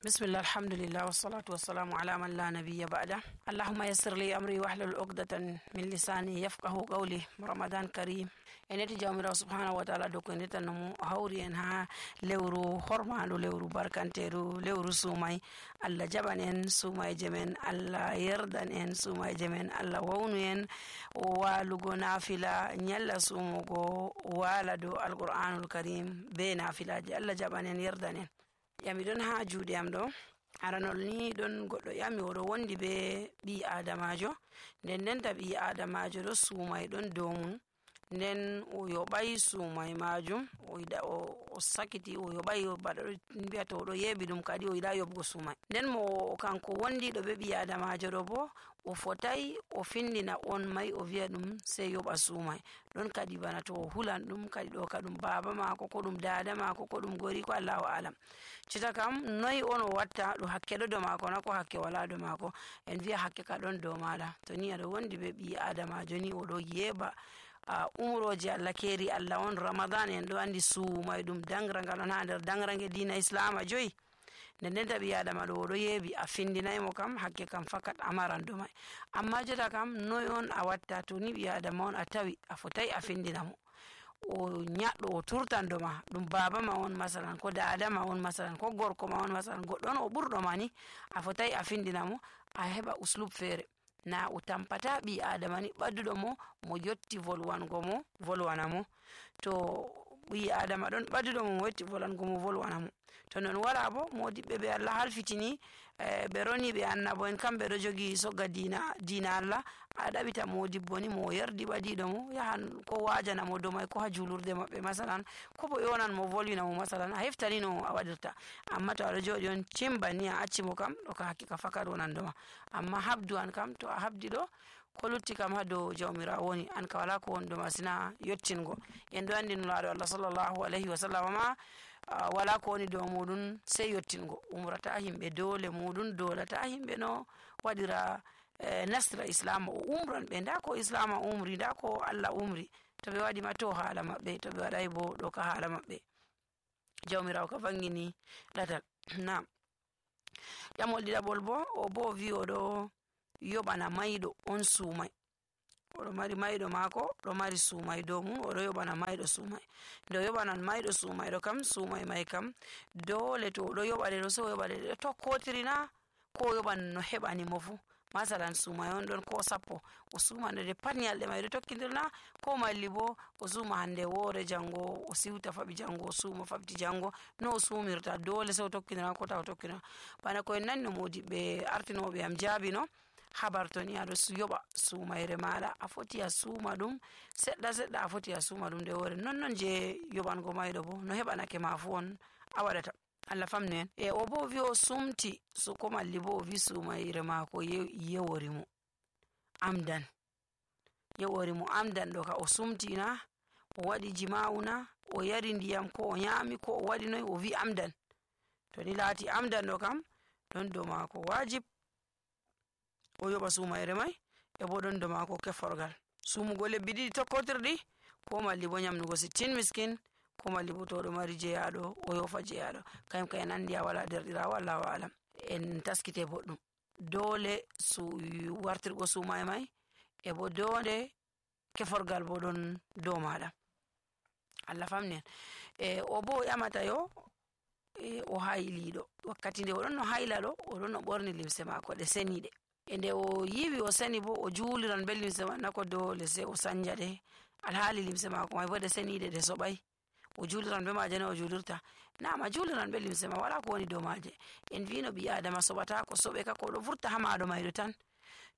بسم الله الحمد لله والصلاة والسلام على من لا نبي بعده. اللهم يسر لي أمري واحلل عقدة من لساني يفقه قولي. رمضان كريم eneti jawmirawo subhanahu wa ta'ala do ko netannamo hawri en ha lewru hormaɗo lewru barkanteru lewru sumay. Allah jaɓan en sumayje men, Allah yerdan en sumayje men, Allah wawnu en walugo nafila nyalla sumugo wala do alqur'anul karim be nafilaji. Allah jaɓan en yerdan en. Yami don ha juuɗe am ɗo aranol ni ɗon goɗɗo yami oɗo wondi be ɓi adamajo nden ɓi adamajo ɗo sumay ɗon dow mum nden o yoɓay sumay majum o sakiti o yoɓay baɗo mbiyata oɗo yeɓi ɗum kadi o yiɗa yoɓgo sumay nden mo kanko wondiɗo be ɓi adamajo ɗo bo o fotay o findina on may o wiya ɗum sey yoɓa sumay ɗon kadi bana to o hulan ɗum kadi ɗo ka ɗum baba mako ko ɗum dada mako ko ɗum gori ko Allahu alam. Cita kam noyi on o watta ɗo hakke ɗo dow mako na ko hakke wala dow mako en wiya hakke ka ɗon dow maɗa to ni aɗo wondi be ɓi adamajo ni oɗo yeɓa umroje Allah keri Allah on Ramadan en ɗo andi sumay ɗum dangragal on ha nder dangrange dina islama joyi nden taɓi adama ɗo oɗo yeɓi a findinaymo kam hakke kam fakat amaran ɗo may amma jota kam noy on a watta to ni ɓi adama on a tawi a fotai a findinamo o nyaɗɗo o turtan ɗo ma ɗum baba ma on masalan ko dada ma on masalan ko gorko ma on masalan goɗɗo on o ɓurɗo ma ni a fotai a findinamo a heɓa uslub feere na o tampata ɓi adama ni ɓadduɗo mo yotti volwango mo volwana mo to ɓi adama ɗon ɓadduɗo mo yotti volwango mo volwana mo to non wala bo modiɓɓe ɓe Allah halfitini ɓe roni ɓe annabo en kamɓe ɗo jogi sogga dina Allah a ɗaɓita modibbo ni mo yerdi ɓadiɗo mo yahan ko wajana mo dow may ko ha julurde maɓɓe masalan ko bo yonan mo volwina mo masalan a heftani no a waɗirta amma to aɗo joɗi on cimbani a acci mo kam ɗo ka hakkika fakat wonan doma amma habdu an kam to a habdi ɗo ko lutti kam ha dow jawmirawo woni an ka wala ko woni ɗo masina yottingo en ɗo andi nulaɗo Allah sallallahu alayhi wa sallam ma wala ko woni dow muɗum sey yottingo umrata himɓe dole muɗum dolata himɓe no waɗira nasra islam o umran ɓe nda ko islam umri nda ko Allah umri to ɓe waɗi ma to haala maɓɓe to ɓe waɗay bo ɗo ka haala maɓɓe jawmirawo ka vangini ɗatal nam ƴamol ɗiɗaɓol bo o bo wi oɗo yoɓana mayɗo on sumay oɗo mari mayɗo mako ɗo mari sumay dow mum oɗo yoɓana mayɗo sumay nde o yoɓanan mayɗo sumay ɗo kam sumay may kam dole to oɗo yoɓaɗe ɗo so o yoɓaɗe ɗo tokkotirina ko o yoɓan no heɓani mo fu masalan sumay on ɗon ko 10 o sumande de pat nyalɗe may ɗo tokkidirna ko malli bo o suma hande woore jango o siwta faɓi jango o suma faɓti jango no o sumirta dole so o tokkidira ko ta o tokkidira bana ko en nanno modiɓɓe artinoɓe am jaabi no habar to ni aɗo yoɓa sumayre maɗa a foti a suma ɗum seɗɗa a foti a suma ɗum nde woore non je yoɓango mayɗo bo no heɓanake ma fu on a waɗata Allah famnu en o bo wi o sumti so ko malli bo o wi sumayre mako yewori mo amdan ɗo ka o sumtina o waɗi jima'una o yari ndiyam ko o nyami ko o waɗi noy o wi amdan to ni laati amdan ɗo kam ɗon dow mako wajib o yoɓa sumayre may e bo ɗon dow mako keforgal sumugo lebbi ɗiɗi tokkotirɗi ko malli bo nyamnugo 60 miskin ko malli bo to ɗo mari jeyaɗo o yofa jeyaɗo kayum ka en andi a wala derɗirawo Allahu alam en taskite boɗɗum dole wartirgo sumay may e bo dole keforgal bo ɗon dow maɗa Allah famnen o bo ƴamata yo o hayliɗo wakkati nde oɗon no hayla ɗo oɗon no ɓorni limse mako ɗe seniɗe e nde o yiwi o seni bo o juliran be limse man nako dole se o sanja ɗe alhaali limse mako may bo ɗe seniɗe ɗe soɓay o juliran be maje no o julirta nama juliran be limse ma wala ko woni dow maje en vino ɓi adama soɓata ko soɓe ka ko ɗo vurta ha maɗo mayɗo tan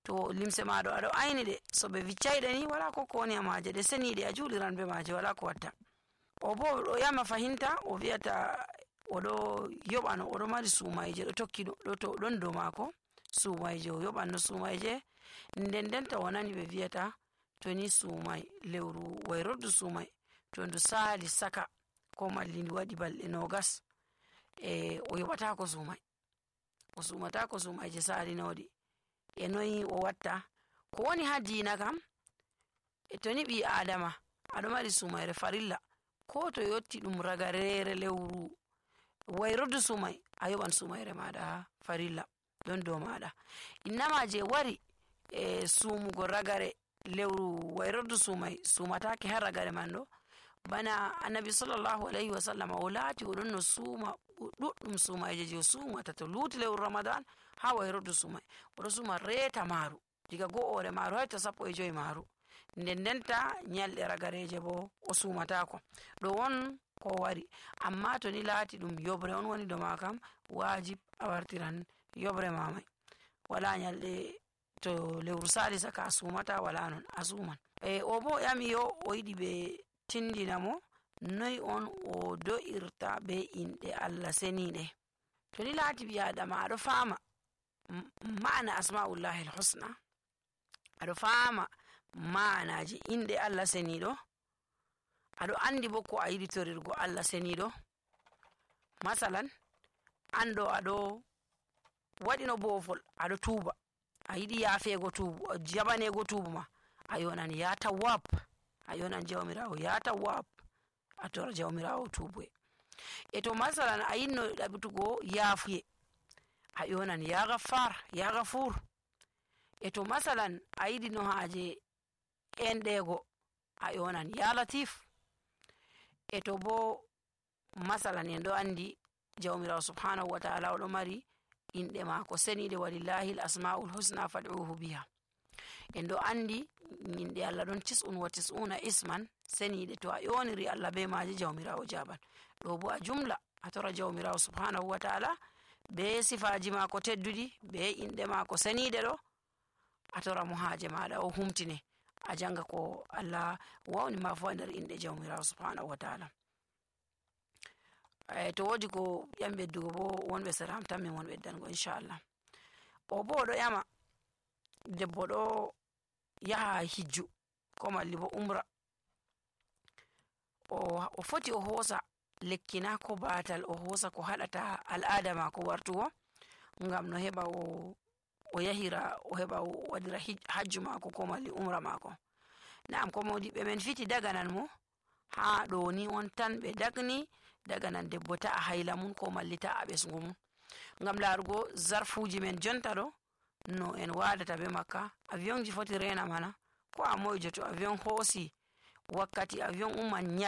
to limse maɗo aɗo ayni ɗe so ɓe viccayɗe ni wala ko woni ha maje ɗe seniɗe a juliran be maje wala ko watta o bo ɗo yama fahinta o wiyata oɗo yoɓano oɗo mari sumayje ɗo tokki ɗo to ɗon dow mako sumayje o yoɓanno sumayje nden to wonani ɓe wiyata to ni sumay lewru wayrordu sumay to ndu sali saka ko malli ndu waɗi balɗe 20 o yoɓatako sumay o sumatako sumayje salinoɗi e noyi o watta ko woni ha dina kam to ni ɓi adama aɗo mari sumayre farilla ko to yotti ɗum ragarere lewru wayrodu sumay a yoɓan sumayre maɗa farilla ɗon dow maɗa. innama je wari sumugo ragare lewru wayrordu sumatake har ragare man ɗo, bana annabi sallallahu alaihi wa sallam o laati o ɗon no suuma ɗuɗɗum sumayje je o sumata to luti lewru ramadan ha wayrordu sumai oɗo suma reeta maru diga go'ore maru hay to 15 maru, nden denta nyalɗe ragareje bo o sumatako. ɗo won ko wari, amma to ni laati ɗum yobre on woni do ma kam wajib a wartiran yobre mamai, wala nyalɗe to lewru salisa ka a sumata, wala non a suman. o bo yami yo o yiɗi ɓe tindina mo noy on o do'irta be inɗe Allah seniɗe. to ni laati ɓi adama aɗo fama ma'ana asma'ullahi al-husna, aɗo fama ma'anaji inɗe Allah seniɗo, aɗo andi bo ko a yiɗi torirgo Allah seniɗo. masalan anɗo aɗo waɗino bofol aɗo tuuba, a yiɗi yafego tuubu jabanego tuubu ma, a yonan ya tawwab, a yonan jawmirawo ya tawwab, a tora jawmirawo tuubuye. to masalan a yinno ɗaɓitugo yafuye, a yonan ya gaffar ya gafur. to masalan a yiɗi no haje enɗego, a yonan ya latif. to bo masalan en ɗo andi jawmirawo subhanahu wa ta'ala oɗo mari inɗe mako seniɗe, walillahi l asma'ul husna fad'uhu biha. en ɗo andi inɗe Allah ɗon 99 isman seniɗe, to a yoniri Allah be maji jawmirawo jaban. ɗo bo a jumla a tora jawmirawo subhanahu wa ta'ala be sifaji mako teddudi be inɗe mako seniɗe ɗo, a tora mo haje maɗa o humtine, a janga ko Allah wawni ma fu nder inɗe jawmirawo subhanahu wa ta'ala. to wodi ko ƴam ɓeddugo bo wonɓe seram tan min won ɓeddango inchallah. o bo ɗo ƴama debbo ɗo yaha hijju ko malli bo umra, o foti o hosa lekki na ko batal, o hosa ko haɗata al'ada mako wartugo, ngam no heɓa o yahira o heɓa o waɗira hajju mako ko malli umra mako. na'am ko modiɓɓe men fiti daganan mo ha ɗo ni on tan ɓe dagni daganan debbo ta'a hayla mun ko malli ta'a ɓesgu mun, ngam larugo zarfuji men jonta ɗo no en wadata be makka. avion ji foti rena mana ko a moyjo, to avion hosi wakkati avion umman